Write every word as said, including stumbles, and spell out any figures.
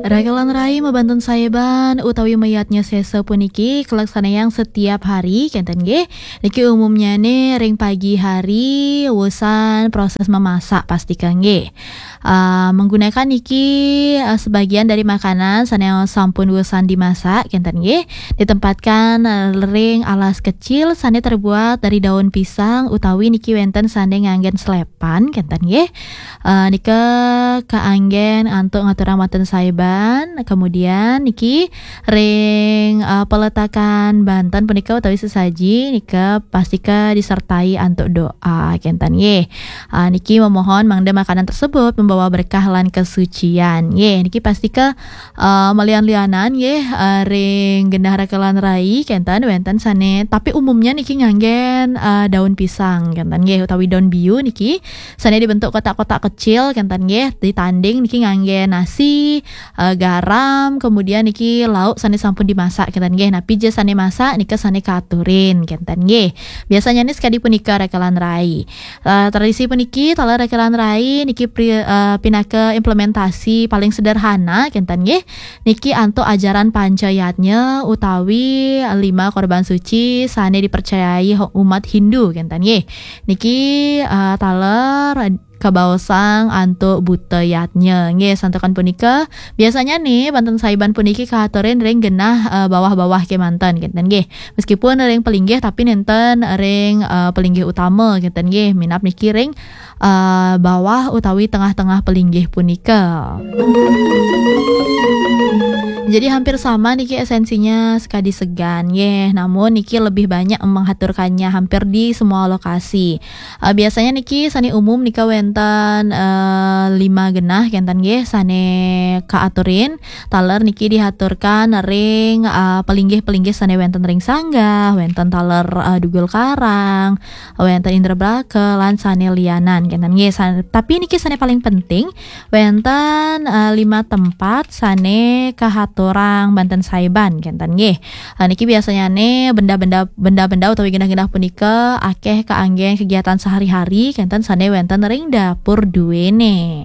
Rakelan rai mabantun saeban utawi mayadnya sesa puniki kalaksanayang setiap hari, kenten nggih. Niki umumnyane ring pagi hari, wusan proses memasak pastika nggih. Ah, menggunakan niki, ah, sebagian dari makanan sane sampun wusan dimasak, kenten nggih. Ditempatkan, ah, ring alas kecil sane terbuat dari daun pisang utawi niki wenten sane nganggen slepan, kenten nggih. Eh, nika kaanggen antuk ngaturang wantun saeban. Kemudian niki ring, eh, peletakan banten punika utawi sesaji nika pastika disertai antuk doa, kenten nggih. Ah, niki memohon mangda makanan tersebut membawa berkah lan kesucian. Nggih, niki pastika, eh, malian-lianan nggih, eh, ring genah rakelan rai kenten wenten sane, tapi umumnya niki nganggen, eh, daun pisang kenten nggih utawi daun biu niki sane dibentuk kotak-kotak kecil kenten nggih, ditanding niki ngangge nasi, eh, garam, kemudian niki lauk sane sampun dimasak kenten nggih. Napi ja sane masak nika sane kaaturin kenten nggih. Biasanya ni sekadi punika rakelan rai. Eh, tradisi puniki taler rakelan rai niki pri-, eh, pinaka implementasi paling sederhana kenten nggih. Niki antuk ajaran Panca Yadnya utawi lima korban suci sane dipercayai ho-, umat Hindu kenten nggih. Niki, eh, taler kabaosang antuk buta yadnya. Nggih, santukan punika, biasanya ni banten saeban puniki kaaturin ring genah, eh, bawah-bawah kemanten, kenten nggih. Meskipun ring pelinggih, tapi nenten ring, eh, pelinggih utama, kenten nggih. Minab niki ring, eh, bawah utawi tengah-tengah pelinggih punika. Jadi hampir sama niki esensinya sekadi segan, nggih. Namun niki lebih banyak menghaturkannya hampir di semua lokasi. Eh, biasanya niki sane umum nika wenten, eh, lima genah kenten nggih sane kaaturin. Taler niki dihaturkan ring, eh, pelinggih-pelinggih sane wenten ring sanggah, wenten taler, eh, Dugul Karang, wenten Indrabraka, lan sane lianan kenten nggih. San-, tapi niki sane paling penting wenten, eh, lima tempat sane kahaturang banten saeban kenten nggih. Eh, niki biasanya ne benda-benda, benda-benda utawi genah-genah punika akeh kaanggen kegiatan sehari-hari kenten sane wenten ring dapur duene.